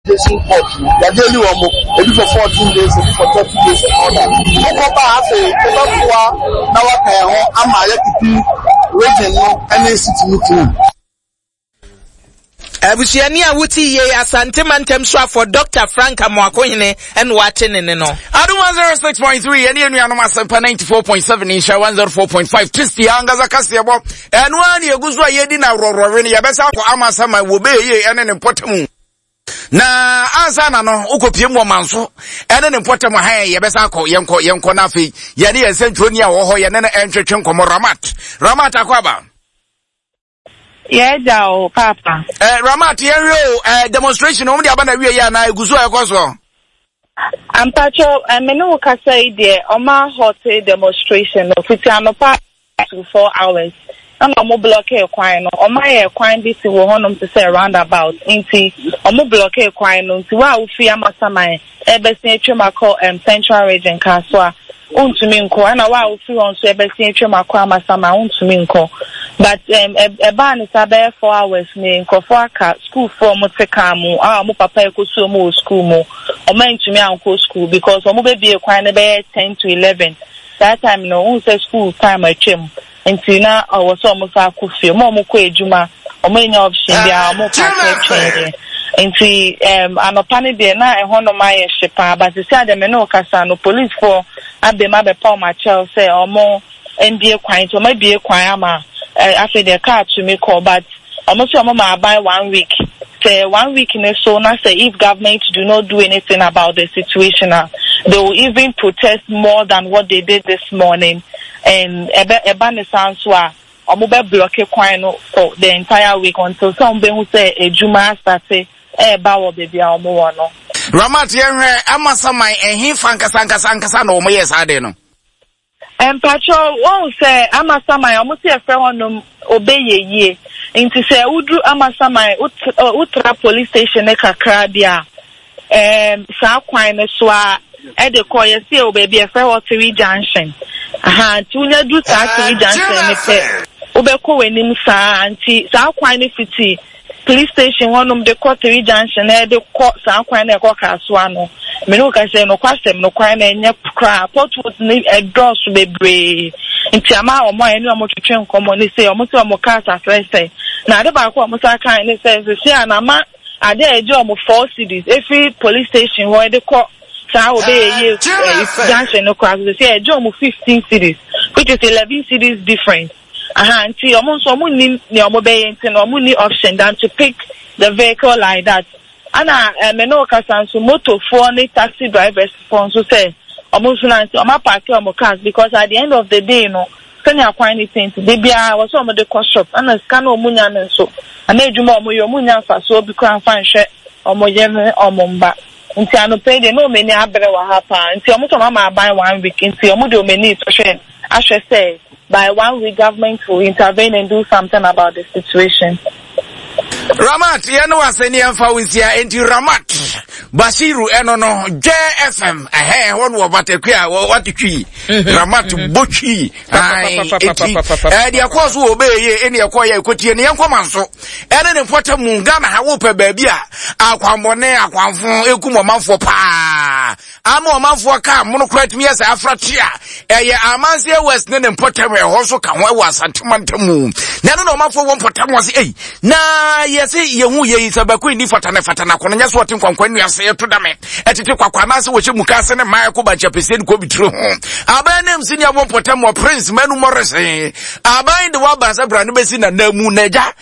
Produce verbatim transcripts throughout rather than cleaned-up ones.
Station court no, yɛajaili wɔn, ebi for fourteen days, ebi for thirty days and all that. Wokɔ ba a, afei wobɛboa na waka yɛn ho ama yɛakeep region no ne city no clean. Abusuani a wote yie, Asante Mantam soafoɔ Doctor Frank Amoakohene ɛna wate ne ne no. Adum one oh six point three yɛne anuanom Asɛmpa ninety-four point seven, Nhyira one oh four point five, Kristi ankasa kaseɛbɔ ɛno ara ne ɛgu so a yɛdi na aworɔworɔwe no. Yɛbɛsa akɔ Amasaman wɔ bɛyɛ ɛne ne mpɔtamu na ansa na no wokɔpie mu ɔman so ɛne ne mpɔtam ha. Yɛbɛsa akɔ, yɛnkɔ yɛnkɔ no. Afei yɛne yɛn nsɛntwerɛni a wɔ hɔ, yɛne no ɛntwetwe nkɔmmɔ. Ramat, Ramat, akɔ aba. Yɛgya o, papa. Eh, Ramat, yɛnhwɛ o, eh, demonstration wɔn de aba na wie yɛ anaa egu so a ɛkɔ soɔ? Ampatwo, me ne wo kasa yi deɛ, ɔma halt demonstration no fiti anɔpa to four hours ɛna ɔmo block kwan no. Ɔmo ayɛ kwan bi si wɔ hɔnom te sɛ roundabout, nti ɔmo block kwan no, nti wo a wofi Amasaman ɛbɛsi atwam akɔ um, Central Region Kasoa, wontumi nkɔ, ɛna wo a wofi hɔ nso ɛbɛsi atwam akɔ Amasaman, wontumi nkɔ. But um, ɛbaa ne sa bɛyɛ four hours ne nkurɔfoɔ aka, sukuufoɔ ɔmo te kaa mu a ɔmo papa ekosu ɔmo wɔ sukuu mu, ɔmo antumi ankɔ sukuu because ɔmo bɛbie kwan no bɛyɛ ten to eleven. Saa time no, ohun sɛ school time atwam, nti na ɔwɔ sɛ ɔmo sa akɔ fie. Ɔmo a ɔmo kɔ adwuma, ɔmo anya option biara, ɔmo park atwɛn deɛ. Nti um, anɔpa no deɛ, na ɛhɔnom ayɛ hye paa, but sisi adeɛ me ne ɔkasa no, policefoɔ abɛm abɛpa ɔmo akyɛw sɛ ɔmo mbie kwan, nti ɔmo abie kwan ama ɛ afei deɛ kaa tumi kɔ. But ɔmo sɛ ɔmo ma aban one week, sɛ one week ne so na sɛ if government do not do anything about the situation ah, they will even protest more than what they did this morning. And ɛbɛ ɛba ne saa nso a, ɔmo bɛ block kwan no for the entire week until sɛ ɔmo bɛhu sɛ edwuma astart ɛɛba wɔ beebi a ɔmo wɔ no. Ramat, yɛhwɛ, Amasaman ɛhe fa nkasa nkasa nkasa na wɔn yɛ saa de no? Mpatwɛ, wɔn sɛ Amasaman, ɔmo si ɛfrɛ hɔnom Obeyɛ Yie, nti sɛ woduru Amasaman, wotra police station ne kakra bi a, ɛɛm saa kwan no so a ɛde kɔ, yɛsi ɛwɔ baabi ɛfrɛ hɔ Three Junction aha. Nti wonya du saa Three Junction ne pɛ, wobɛkɔ w'anim saa. Nti saa kwan no fiti police station hɔnom de kɔ Three Junction na ɛde kɔ saa kwan no ɛkɔ Kasoa no. Mene wo ka sɛ nokwasɛm no, kwan no ɛnyɛ koraa, potholes ne ɛdɔɔso bebree, nti ama ɔmo a ɛne ɔmo twetwe nkɔmmɔ ne sɛ ɔmo sɛ ɔmo cars asɛesɛe. Na ade baako a ɔmo sa kan ne sɛ sisi a na ama ade a ɛgye ɔmo four cedis efiri police station hɔ ɛde kɔ saa Obɛyɛ Yie junction no koraa so, sisi a ɛgye ɔmo fifteen cedis, which is eleven cedis difference aha. Nti ɔmo nso ɔmo nim nea ɔmo bɛyɛ, nti na ɔmo ni option than to pick the vehicle like that. Ana ɛmɛ ne okasa nso, motofoɔ ne taxi drivers foɔ nso sɛ ɔmo nso na nti ɔmo apark ɔmo cars, because at the end of the day no, sɛnea kwan ne ti nti de biara wɔ sɛ ɔmo de kɔ shop, ɛna sika na ɔmo nya no nso ana adwuma a ɔmo yɛ, ɔmo nya nfasoɔ bi koraa nfa nhwɛ ɔmo yere ne ɔmo mba. Nti anɔpɛ yi deɛ, na ɔmo ani abere wɔ ha paa. Nti ɔmo sɛ ɔmo ama aban one week, nti ɔmo de ɔmo ani sɔhwɛ ahwɛ sɛ by one week government will intervene and do something about the situation. Ramat, yɛne wase ne yɛmfa wo nsia. Enti Ramat Basiru ɛno no, Dwɛ F M ɛhɛ hɔ no wɔ batakui a wate twi Ramat bɔtwi. Enti deɛ ɛkɔɔ so wɔ ɔbɛyɛ ɛne ɛkɔɔ yɛ ɛkɔtie ne yɛnkɔma nso ɛne ne mpɔtam mu. Ghana ha, wopɛ baabi a akwanbɔne akwanfo ɛkum ɔmanfoɔ paa ama ɔmanfoɔ kaa mono koraa tumi yɛ sɛ afrate a, ɛyɛ Amanseɛ West ne ne mpɔtam. Ɛhɔ nso ka ho, ɛwɔ Asantemantam mu, na ɛno na ɔmanfoɔ wɔ mpɔtam wɔ se ei na yɛse yɛhu yɛyi sɛ bɛko nni fata ne fata na akɔno nyɛ so ɔte nkwankwa nnua se ɛto dame ɛtete kwakwa anaasɛ wɔhyɛ muka ase ne mmaa ɛkɔ bankyapɛsie ne kɔbitire ho. Aban nam si ne abɔ mpɔtam wɔ Prince Manu Morrison aban de waba sɛ bra no bɛsi nana mu na agya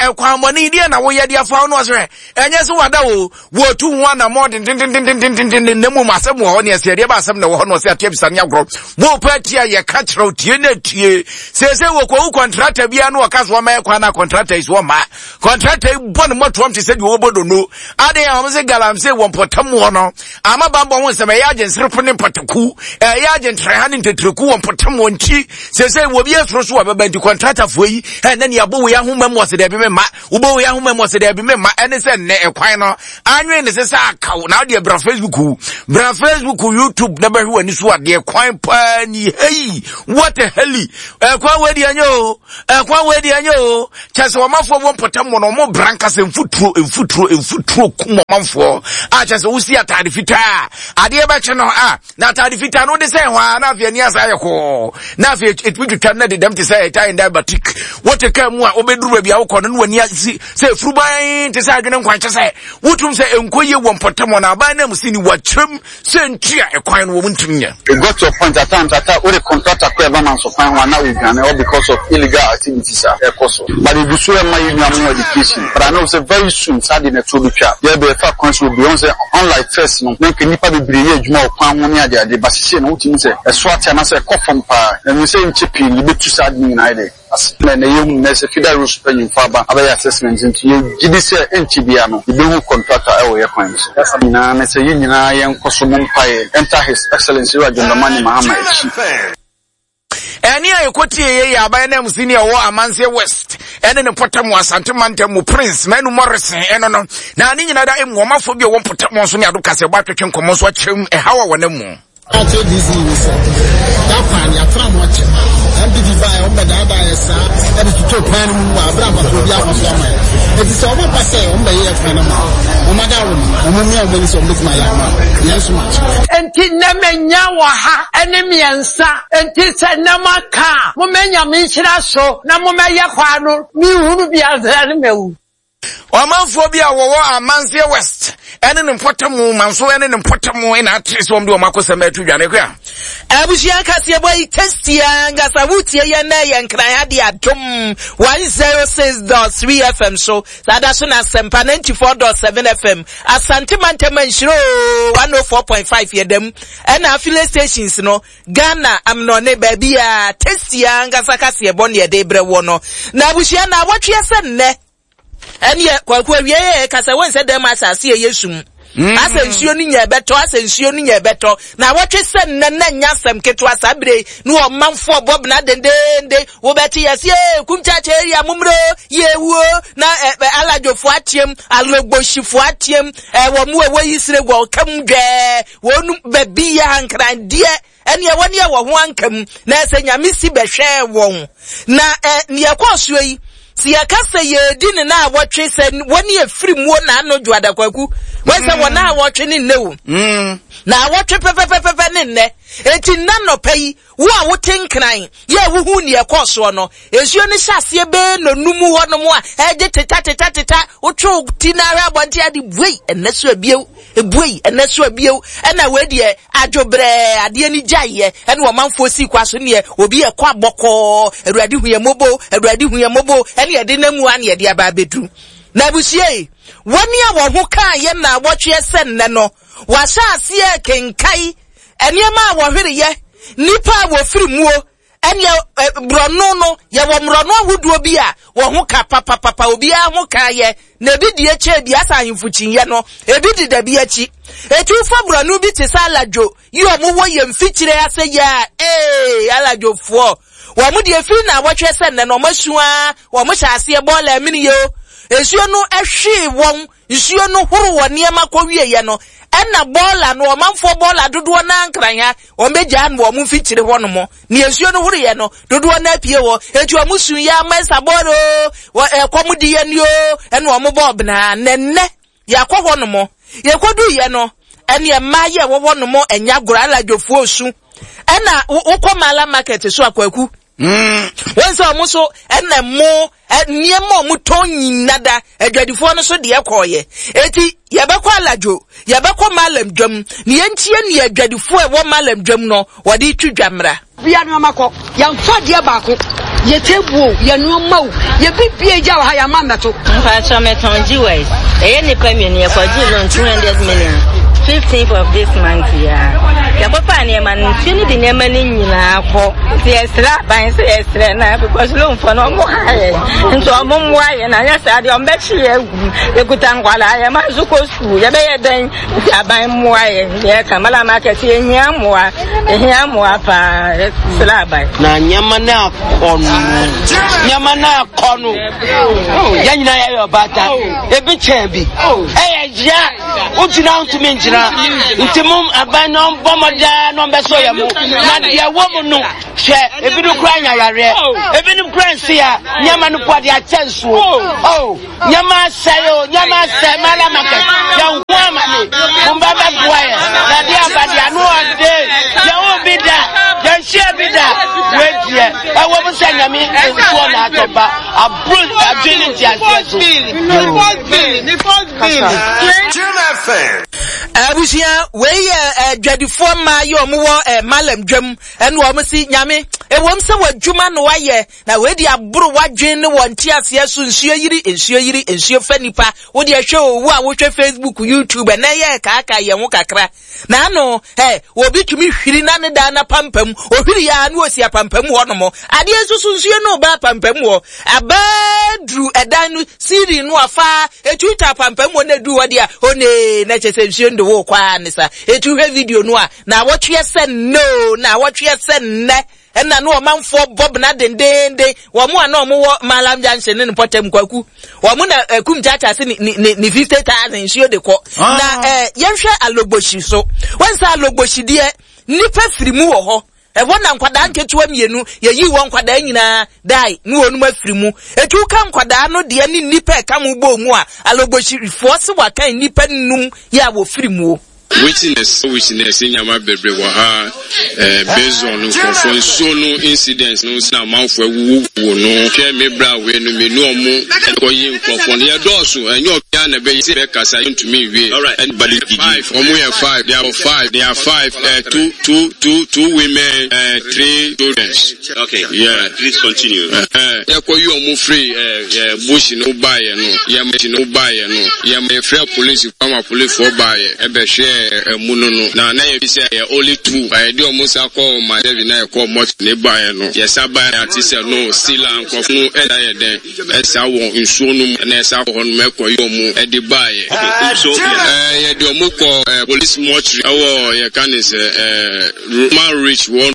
ɛkwanmɔne deɛ na woyɛ de afa wo no ɔsɛ ɛnyɛ sɛ wada o, wɔtu ho anammɔ dendendendendenden, na mmom asɛm wɔ hɔ ne ɛsɛ ɛdeɛ ba asɛm na ɛwɔ hɔ na ɔsɛ ateɛ bisa ne agorɔ wɔpɛ tie a yɛka kyerɛw tie na tie. Seesei wɔkɔwu contractor biara no, wɔka so wɔma ɛkwan na contractor yi so wɔma contractor yi bɔ ne mmɔtoam te sɛ deɛ wɔbɔ dono ade a wɔn sɛ galamsey wɔ mpɔtam hɔ no ama bambɔ ho nsɛm ɛyɛ agye nserepo ne mpataku, ɛyɛ agye ntrɛha ne ntetreku wɔ mpɔtam wɔ. Nti seesei wɔ bi asoro so wɔ bɛba, nti contractorfoɔ yi ɛnɛ ne abɔ wei ahoma mu, ɔsɛ dɛbi me ma wobɔ wei ahoma mu, ɔsɛ dɛbi me ma. Ɛne sɛ nnɛ ɛkwan no anwen ne sɛ sɛ akaw na wodeɛ bra Facebook, bra Facebook, YouTube na bɛhwɛ w'ani so adeɛ. ɛkwan paa ni hey what a hell ɛkwan wei deɛ nyɛ o ɛkwan wei deɛ nyɛ o kyɛ sɛ ɔmanfoɔ wɔ mpɔtam wɔ no ɔmo bra nkasa mfuturo mfuturo mfuturo kum ɔmanfoɔ a kyɛ sɛ wosi ataade fitaa adeɛ bɛkye no a na ataade fitaa no wode sɛ hɔ a na afei ani asa ayɛ kɔɔ na afei ɛtumi twitwa no na dedam te sɛ ɛtae nda batik wote kaa mu a wobɛduru baabi a wokɔ no na w'ani asi sɛ ɛfuruban te sɛ adwene nkwankyɛ sɛ wotum sɛ ɛnkɔ yie wɔ mpɔtam hɔ na aban no amu si ni wakyerɛm sɛ ntua ɛkwan no wɔn ntumi nyɛ. It got to a point at times at times wode contractor kɔ ɛba manso kwan ho a na odwane all because of illegal activities a ɛkɔ so, but edu so ɛma yɛ nua mo education, but I know sɛ very soon saa de na ɛto betwa yɛbɛ ɛfa kwan so obi ɔn sɛ unlike first no na nka nipa bebree yɛ adwuma wɔ kwan ho ne ade ade, but sisi no wotumi sɛ ɛso ate anaasɛ ɛkɔ fam paa na mi sɛ nkyɛ pii no yɛbɛtu saa de nyinaa yɛ dɛ ase na na yɛhu na sɛ feeder roads mpanyinfo aba abɛyɛ assessment, nti yɛgye di sɛ ɛnkyɛ bia no yɛbɛhu contractor ɛwɔ yɛ kwan so nyinaa ne sɛ yɛn nyinaa yɛnkɔ so mo mpaeɛ enter His Excellency Ewura John Dramani Mahama akyi. Ɛne a yɛkɔtie yɛ yɛ aban no amusi ne ɛwɔ Amanseɛ West ɛne ne mpɔtam wɔ Asante mantam mu, Prince Manu Morrison ɛno no na ne nyinaa da emu ɔmanfoɔ bi a ɛwɔ mpɔtam nso ne ado kasɛ ɛbɔ atwetwe nkɔmmɔ nso akyerɛm ɛhaw a wɔnam mu. Ate D C ni sɛ that kwan yɛatra ho akyɛ. N P P baa yɛ, ɔmbɛdaadaa yɛ saa ɛde toto kwan no mu wɔ abere abato bi afa so ama yɛ. Eti sɛ ɔmo ba sɛ ɔmo bɛyɛ kwan no ma ɔmo ada wo no, ɔmo mmea ɔmo ani sɛ ɔmo bɛtumi ayɛ ama yɛn nso ma kyerɛ. Nti nnɛ menya wɔ ha ne mmiɛnsa, nti sɛ nnɛ maka a, momɛnya me nhyira so na momɛyɛ kwa no menhunu bi ansa ne mawu. Ɔmanfoɔ bi a wɔwɔ Amanseɛ West ɛne ne mpɔtam manso ɛne ne mpɔtam ɛna atere sɛ wɔn de wɔn akɔsɛm ɛto dwa ne kora. Abusua kaseɛbɔ yi tasty ankasa. Wotie yɛn na yɛ Nkran ade Adom one zero six dot three F M so saa da so na Asɛmpa ninety-four dot seven F M, Asante mantam nhyiro one oh four point five yɛ dɛm, ɛna affiliate stations no Ghana amnɔne baabi a tasty ankasa kaseɛbɔ ne yɛde brɛ wɔ no. Na abusua, na awɔtwe sɛ nnɛ ɛneɛ Kwaku awie yɛ kasa wɔn sɛ dɛm asase yɛ yɛ sum mm. Asɛ nsuo no nya ɛbɛtɔ, asɛ nsuo no nya ɛbɛtɔ na awɔtwe sɛ nnɛ na nya asɛm ketewa saa bere ne ɔmanfoɔ bɔbena dendende wobɛte yɛse Kumkyakye area mommerɛ yɛwuo na ɛ aladwofoɔ ateam, alogbohyifoɔ ateam, ɛwɔ mu ɛwɔ yi sere wɔ kam dwɛɛ wɔnum baabi yɛ ankrandeɛ ɛne ɛwɔ ne ɛwɔ ho anka mu na ɛsɛ Nyame si bɛhwɛɛ wɔn na ɛ neɛ ɛkɔɔ soɔ yi si yɛka sɛ yɛdi ne na awɔtwe sɛ wɔne efiri muo na ano dwo Adakwaku wɔn sɛ wɔn a wɔtwe ne nnɛ o na awɔtwe pɛpɛpɛpɛ ne nnɛ. Eti nna nnɔpɛ yi, wo a wote Nkran yɛ a wohu neɛ ɛkɔɔ soɔ no, nsuo no hyɛ aseɛ bɛɛ nonum hɔ nom a ɛgye teta teta teta wotwe ti na ahwɛ abɔnten ade buei ɛnɛ so abiew ebuei ɛnɛ so abiew. Ɛna wei deɛ adwo brɛɛ adeɛ ni gyaeɛ ɛna ɔmanfoɔ si kwa so neɛ obi ɛkɔ abɔkɔɔ. Awurade hu yɛ mobo, Awurade hu yɛ mobo. Ɛne yɛde nam mu a ne yɛde aba abɛduru na abusua yi wɔne a wɔn ho kaa yɛ na awɔtwe sɛ nnɛ no wɔahyɛ aseɛ kenkae nneɛma a wɔhwereyɛ, nipa a wɔfiri muo ɛneɛ borɔno no. Yɛwɔ mmorɔno ahodoɔ bi a wɔn ho ka papapapa, obiara ho ka yɛ na ebi di akyire bi asa ahemfo kyiniiɛ no, ebi di dabi akyi. Etu fa borɔno bi te sɛ Aladwo yi, wɔn wɔ yɛn mfikyire ase yɛ a ee Aladwofoɔ wɔn deɛ firi na awɔtwe sɛ nnɛ no wɔn asua wɔn hyɛ aseɛ bɔɔla amini yɛ o. Nsuo no ɛhwee wɔn, nsuo no horo wɔ nneɛma kɔ wie no, ɛna bɔɔla no ɔmanfoɔ bɔɔla dodoɔ naa Nkran ha wɔn bɛgyaa no wɔn mfikyire hɔ nom ne nsuo no horoyɛ no dodoɔ naa pie hɔ. Etu wɔn sun yɛ ama ɛsa bɔɔla o wɔ ɛkɔm di yɛ ni o ɛna wɔn bɔɔ benaa nɛnɛ yɛakɔ hɔ nom. Yɛkɔdu yɛ no ɛne mmaa yɛ ɛwɔ hɔ nom ɛnya agorɔ Aladwofoɔ su ɛna wokɔ Mala Market so akwaku wɔn sɛ ɔmo so ɛna mo nneɛma a ɔmo tɔn nyina da adwadifoɔ no so deɛ kɔɔyɛ. Eti yɛbɛkɔ Aladwo, yɛbɛkɔ Malam dwam ne yɛntie ne adwadifoɔ a ɛwɔ Malam dwam no wɔde twi dwa mmra. Bia nneɛma kɔ yɛmfa deɛ baako yɛ table o, yɛ nneɛma o, yɛ bibie gya wɔ ha yɛama mmɛto. Mpatsɔ, mɛtɔn jewels. Ɛyɛ nipa mmienu yɛkɔgye loan two hundred million fifteenth of this month ya. Yɛkɔfa nneɛma no, nsuo no de nneɛma no nyinaa kɔ. Nti yɛsrɛ aban sɛ yɛsrɛ na because loan fɔ no ɔmo ha yɛ nti ɔmo mmoa yɛ na nyɛ saa deɛ ɔmo bɛkye yɛ agu. Yɛkuta nkwadaa, yɛ ma nso kɔ sukuu, yɛbɛyɛ dɛn? Nti aban mmoa yɛ. Yɛka Mala Market, yɛhia mmoa, yɛhia mmoa paa, yɛsrɛ aban. Na nneɛma no akɔ no nneɛma no akɔ no yɛn nyinaa yɛyɛ ɔbaata ebi kyɛn bi ɛyɛ ya. Wogyina ntumi ngyina. Nti mo aban no bɔ mmɔden na ɔmbɛsɔ yɛ mu. Na deɛ ɛwɔ mu no, hwɛ, ebinom koraa nya yareɛ. Ebinom koraa nsi a, nneɛma no po de akyɛ nsuo. Oh, nneɛma asɛe o, nneɛma asɛe, Mala Market. Yɛn ho ama ne, mo mba bɛboa yɛ. Na deɛ aba deɛ ano ɔde, yɛn ho bi da, yɛn hyia bi da. Wei deɛ, ɛwɔ mu sɛ Nyame nsuo na atɔ ba, aburo adwene ne nteaseɛ so. Abusua wei yɛ adwadifoɔ mmaa yi ɔmo wɔ Malam dwam ɛna ɔmo si Nyame ewom sɛ w'adwuma no wayɛ na wei de aboro w'adwene ne wɔn nteaseɛ so nsuo yiri nsuo yiri nsuo fa nipa wode ɛhwɛ owu a wohwɛ Facebook, YouTube ɛnɛ yɛ kaaka yɛn ho kakra na ano ɛ obi tumi hwiri na ne dan na pampam ohwiri ya na osi apampam hɔ nom adeɛ nso so nsuo no ba apampam hɔ abɛduru ɛdan no siri no afa etuta apampam hɔ na edu hɔ deɛ one na kyɛ sɛ nsuo no de wo kɔ a ne sa etu hwɛ video no a na wɔtwe sɛ no na wɔtwe sɛ nnɛ ɛna no ɔmanfoɔ bɔb na dendenden wɔn a na wɔn wɔ Malam Junction ne mpɔtam kwaku wɔn na ɛkum kyaakyaa se ne ne ne fifty thousand nsuo de kɔ na ɛɛ yɛnhwɛ Alogboshi so wɔn sɛ Alogboshi deɛ nipa firi mu wɔ hɔ ɛwɔ na nkwadaa nketewa mmienu yɛyi wɔn nkwadaa nyinaa dae ne wɔn mu afiri mu etu ka nkwadaa no deɛ ne nipa ɛka mu bɔ mu a Alogboshifoɔ se waka nipa num yɛ a wɔfiri mu o. Witness, witness, nyama bebre wɔ ha, eh, based on nkurɔfoɔ nsuo no incidents no na amanfoɔ awuwuo no hwɛ me bra wei no me nu ɔmo ɛkɔyi nkurɔfoɔ no yɛdɔɔso ɛnyɛ ɔbea na ɛbɛyɛ sɛ bɛkasa yɛntumi nwie. Anybody five, ɔmo yɛ five, they are five, they are five, uh, two, two, two, two women, uh, three children. Okay, yeah. Right, please continue. Yɛkɔyi ɔmo firi eh, bush no baeɛ no, yɛma no baeɛ no, yɛma yɛfrɛ police, ama policefoɔ baeɛ ɛbɛhwɛ emu no no na na yɛ sɛ yɛ only two ayɛ de ɔmo sa kɔ ma seven na yɛ kɔ mɔt ne baeɛ no yɛsa baeɛ ate sɛ no sila nkurɔfo no ɛda yɛ dɛn ɛsa wɔ nsuo no mu na ɛsa kɔ hɔ no ɛkɔ yi ɔmo ɛde baeɛ. So ɛɛ yɛde ɔmo kɔ ɛɛ police mortuary ɛwɔ yɛka ne sɛ ɛɛ Roman Rich wɔ.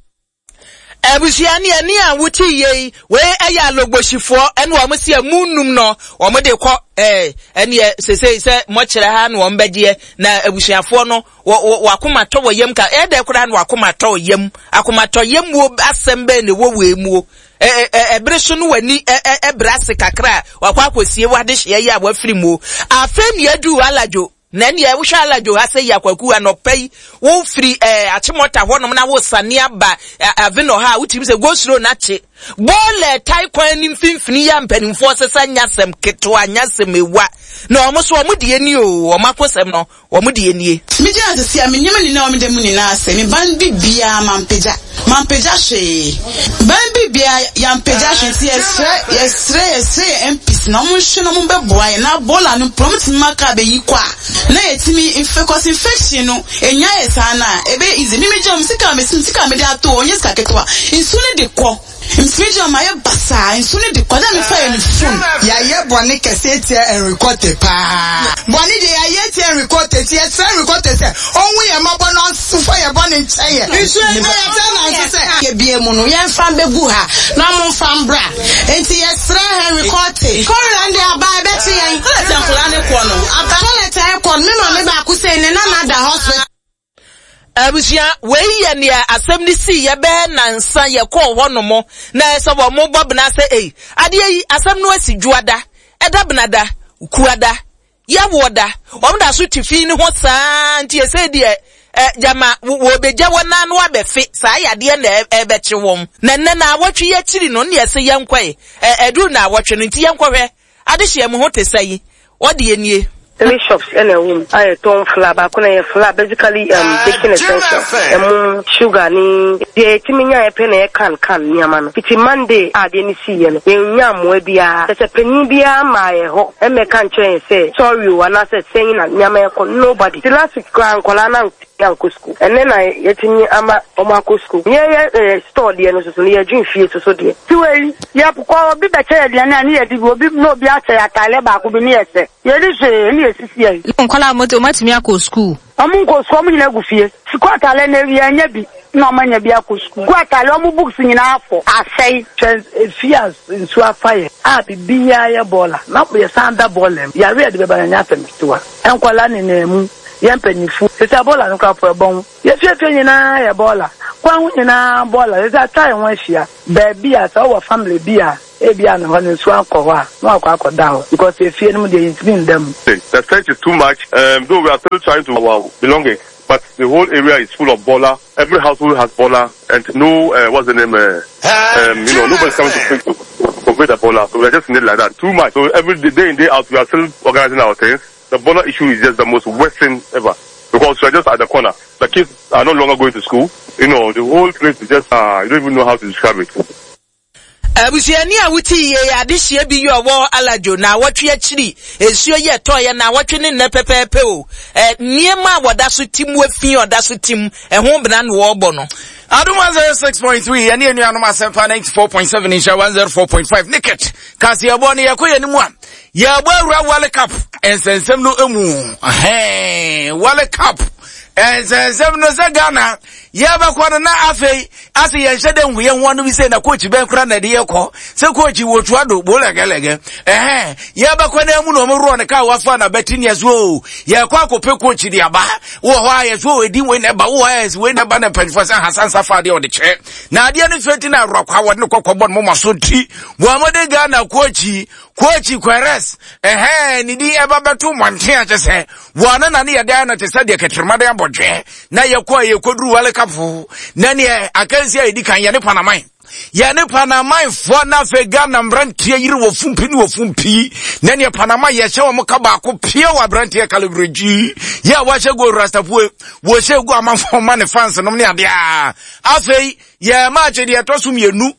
Abusua ne ani a wote yei wei ɛyɛ Alogboshifoɔ ɛne wɔn si emu num no wɔn de kɔ ɛɛ ɛneɛ sesei sɛ mɔkyerɛ ha na wɔn bɛgyeɛ na abusuafoɔ no wɔ wɔ wakoma tɔ wɔ yam ka ɛdɛ koraa na wakoma tɔ wɔ yam akoma tɔ yam wo asɛm bɛn na ɛwɔ wɔ emu ɛ ɛ ɛbere so no w'ani ɛ ɛ ɛbrɛ ase kakra wakɔ akɔsie wade hyɛ yi a wafiri mu afei ne adu Alajo. Na nea wohwɛ Alajo ha sɛ yakwaku anɔpa yi wo firi eh, Achimota hɔnom na wo sane aba Aveno ha wotumi sɛ go slow na kye bɔɔlɛ tai kwan ne mfimfini ya mpanimfoɔ sesa nyasɛm ketewa nyasɛm ewa na ɔmo so ɔmo deɛ nie o ɔmo akosɛm no ɔmo deɛ nie. Megye asese a menyɛma nyinaa ɔmo da mu nyinaa sɛ me ban bibia mampagya mampagya hwee ban bibia yampagya hwee nti yɛsrɛ yɛsrɛ yɛsrɛ yɛ M Ps na ɔmo nhwɛ na ɔmo bɛboa yɛ na bɔɔla no prompt ma ka bɛyi kɔ a na yɛtumi because infection no enya yɛ saa na ebe easy mi megye ɔmo sika me sika me de ato ɔnyɛ sika ketewa nsuo no de kɔ mfirigye ɔmo ayɛ basaa nsuo no de kɔ na mefa yɛ ne phone. Yɛayɛ bɔne kɛse tia Henry Quartey paa bɔne deɛ yɛayɛ tia Henry Quartey ti yɛsrɛ Henry Quartey sɛ ɔnhu yɛ mmɔbɔ na ɔmfa yɛ bɔne nkyɛ yɛ nsuo yi na yɛsɛ nanso sɛ yɛbie mu no yɛmfa mbɛgu ha na ɔmo mfa mbra nti yɛsrɛ Henry Quartey kɔrela de aba ɛbɛkye yɛn toilet nkɔla ne kɔ no aba toilet ɛkɔ no me maame baako sɛ ne nana da hospital. Abusua wei yɛ nea asɛm ne si yɛbɛɛ nansa yɛkɔɔ hɔ nom na ɛsɛ wɔ mo bɔ bena sɛ ei adeɛ yi asɛm no asi dwoada ɛda benada kuada yɛwoɔ da wɔn da so te fi ne ho saa nti ɛsɛ deɛ ɛ gyama wɔbɛgya wɔn nan no abɛfe saa yadeɛ na ɛbɛkye wɔn na nnɛ na awɔtwe yɛkyiri no ne ɛsɛ yɛnkɔe ɛ ɛduru na awɔtwe no nti yɛnkɔhwɛ adehyeɛ mu ho te sɛ yi wɔde yɛ nie. Three shops in a room. I ton flour, back on a flour, basically um baking essential. Um sugar ni the timinya e pen can can niamano. It's Monday a de ni see no. Ye nya mo bia. Se panin bia ma ye ho. E me kan che say sorry o and say saying na niama e nobody. The last week kra nkola na akɔ school. And then I yetimi ama omo akɔ school. Ye ye store de no so so ye dwen fie so so de. Ti we ye pokɔ obi be che de na ne ye di obi no obi ache atale ba ko bi ne ye se. Ye di se ne ye sisi ye. Nkola moto matumi akɔ school. Omo nko school omo nyina gu fie. Sukuu atale na wi anya bi na omo anya bi akɔ school. Gu atale omo books nyina afọ. Asɛi. Fie nsu afa ye. A bibia ye bola. Na ye sanda bola. Ya re de be ba nya asɛm ketewa. Nkola ne na mu. Yɛn mpanyinfo sisi abɔɔla no koraa po ɛbɔn yɛfiefie nyinaa yɛ bɔɔla kwan ho nyinaa bɔɔla sisi atwa yɛn ho ahyia baabi a sɛ ɔwɔ family bi a ebi a na hɔ no nsuo akɔ hɔ a na wakɔ akɔda hɔ because efie no mu deɛ yɛntumi nda mu. The stench is too much. Um, though we are still trying to our belongings, but the whole area is full of bola. Every household has bola, and no, uh, what's the name? Uh, um, you know, nobody's coming to pick to convey the bola. So we are just in it like that. Too much. So every day, day in day out, we are still organizing our things. The bola issue is just the most worst thing ever because we are just at the corner. The kids are no longer going to school. You know, the whole place is just, uh, you don't even know how to describe it. Abusuani a wote yie adehyia bi yɛ ɔwɔ Alajo na awɔtwe akyiri nsuo yɛ tɔɔyɛ na awɔtwe ne nnɛ pɛpɛɛpɛ o ɛ nneɛma a wɔda so tim wafi ɔda so tim ɛho bena na wɔrebɔ no. Adum one zero six point three yɛne anuanom Asɛmpa ninety four point seven nhyɛ one zero four point five Nicket kaseɛbɔ no yɛkɔ yɛn mu a yɛbɔ awura World Cup nsɛnsɛm no emu ɛhɛn World Cup nsɛnsɛm no sɛ Ghana yɛbɛkɔ no na afei ase yɛnhyɛ dɛ nhu yɛn ho ano bi sɛ na coach bɛn kora na ɛde yɛkɔ sɛ coach wɔ tua do bolɛgɛlɛgɛ ɛhɛn yɛbɛkɔ na mu na ɔmo worɔ ne kaa wafa na bɛti ne ɛso o yɛkɔ akɔpɛ coach de aba wɔ hɔ a yɛso o edi wei na ɛba wɔ hɔ a yɛso wei na ɛba na mpanyinfoɔ sɛ Hasan Safa adeɛ ɔde kyerɛ na adeɛ no fɛ ti na awurakɔ a wɔde ne kɔkɔ bɔ ne moma so ti wɔn mo de Ghana coach coach Queiroz ɛhɛn ne din ɛba bɛto mmɔnten akyɛ sɛ wɔn na ne yɛde no te sɛ deɛ kɛtɛrɛma de abɔdwɛ na yɛkɔ a yɛkɔduru World Cup na neɛ akansi a yɛdi kan yɛne Panaman yɛne Panamanfoɔ na afei Ghana mmeranteɛ yere wɔ fumpi ne wɔ fumpi na neɛ Panama yɛhyɛ wɔn ka baako pie wɔ aberanteɛ kalibregyi yɛ a wɔahyɛ go rastapoe wɔhyɛ gu amanfoɔ ma ne fans nom ne adeɛ a afei yɛ maakye deɛ ɛtɔ so mmienu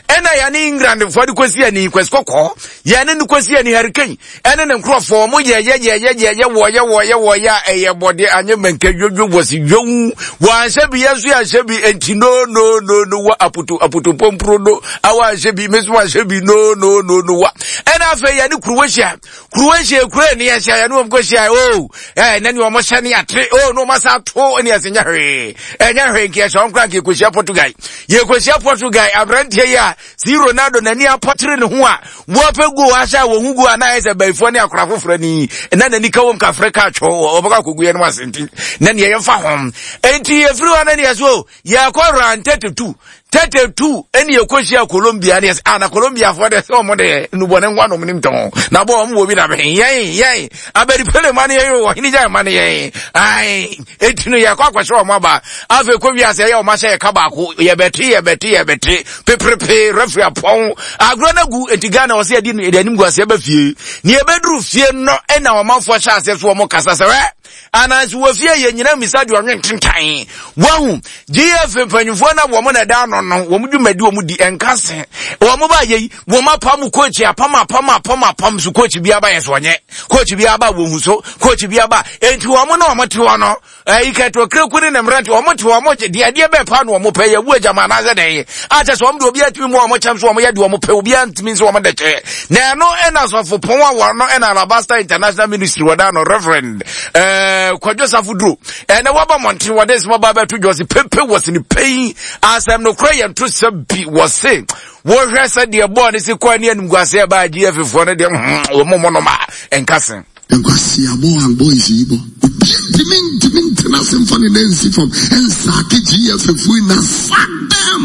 ɛna yɛne Englandfoɔ de kɔsi ani kwasi kɔkɔɔ yɛne no kɔsi ani Hurricane ɛne ne nkurɔfoɔ mo yɛyɛ yɛyɛ yɛyɛ wɔyɛ wɔyɛ wɔyɛ a ɛyɛ bɔde anyɛ mɛnka dwodwo wɔsi dwowu wɔanhyɛ bi yɛn nso yɛanhyɛ bi enti no no no no wa apoto apoto pompuro no awa anhyɛ bi me nso anhyɛ bi no no no no wa ɛna afei yɛne Croatia Croatia kura ni yɛhyɛ yɛne wɔn kɔhyia o ɛɛ na ne wɔn hyɛ ne ate o na wɔn asa ato ne yɛsɛ nyɛ hwee ɛnyɛ hwee nka yɛhyɛ wɔn kora nka yɛkɔhyia Portugal yɛkɔhyia Portugal aberanteɛ yi a si Ronaldo n'ani apɔtere ne ho a wɔpɛ go ahyɛ a wɔn ho go a na ayɛ sɛ bɛyifoɔ ne akora foforɔ ni na n'ani ka wɔm kafrɛ ka atwɔ wɔbɛkɔ akɔgu yɛn no asenti na neɛ yɛmfa ho enti yɛfiri hɔ na neɛ so yɛkɔ round thirty two thirty two ɛne yɛkɔhyia Colombia ne yɛsɛ ah na Colombiafoɔ deɛ sɛ ɔmo deɛ nnubɔne nko anom nim tɔn na bɔ ɔmo wɔ bi na bɛn yɛn yɛn abɛripele ma ne yɛn ɔhene gya ma ne yɛn ae eti no yɛkɔ akɔhyɛ ɔmo aba afei kɔ wiase ɛyɛ ɔmo ahyɛ yɛka baako yɛbɛte yɛbɛte yɛbɛte peperepe referee apɔn agorɔ no agu eti Ghana ɔsɛ yɛde yɛde anim gu aseɛ bɛ fie ne yɛbɛduru fie no ɛna ɔmanfoɔ hyɛ aseɛ so ɔmo kasa sɛ wɛ anansi wɔ fie yɛ nyina misa deɛ ɔnwe ntentan wahu G F mpanyinfoɔ na wɔn na ɛda ano no wɔn dwumadi wɔn di ɛnka se wɔn ba yɛ yi wɔn apam coach apam apam apam apam so coach bi aba yɛ so ɔnyɛ coach bi aba wɔn hu so coach bi aba enti wɔn na wɔn te hɔ no ɛyi kɛtɔ kireku ne ne mmerante wɔn te wɔn deɛ deɛ bɛɛ pa na wɔn pɛ yɛ wu agyama anaasɛ dɛn akyɛ sɛ wɔn de obi atumi mu wɔn kyɛm so wɔn yɛ deɛ wɔn pɛ obi antumi nso wɔn de kyɛ na ɛno ɛna sɔfo pɔn a wɔn no ɛna Alabasta International Ministry wɔda no Reverend ɛɛ Kwadwo Safo Duro ɛna wɔba mmɔnten wɔde nsɛm ɔba bɛto dwa ɔsi pepe wɔsi ne pɛyi asɛm no kora yɛn to sɛ bi wɔse wɔhwɛ sɛ deɛ bɔɔl ne si kɔɔ ne animguaseɛ ɛbaa G F foɔ no deɛ wɔn mo nom a ɛnka se. Nkwasiabɔ and boys yi bɔ. Obi ntumi ntumi ntena ase mfa ne nan nsi fam nsaake G F foɔ yi na sack them.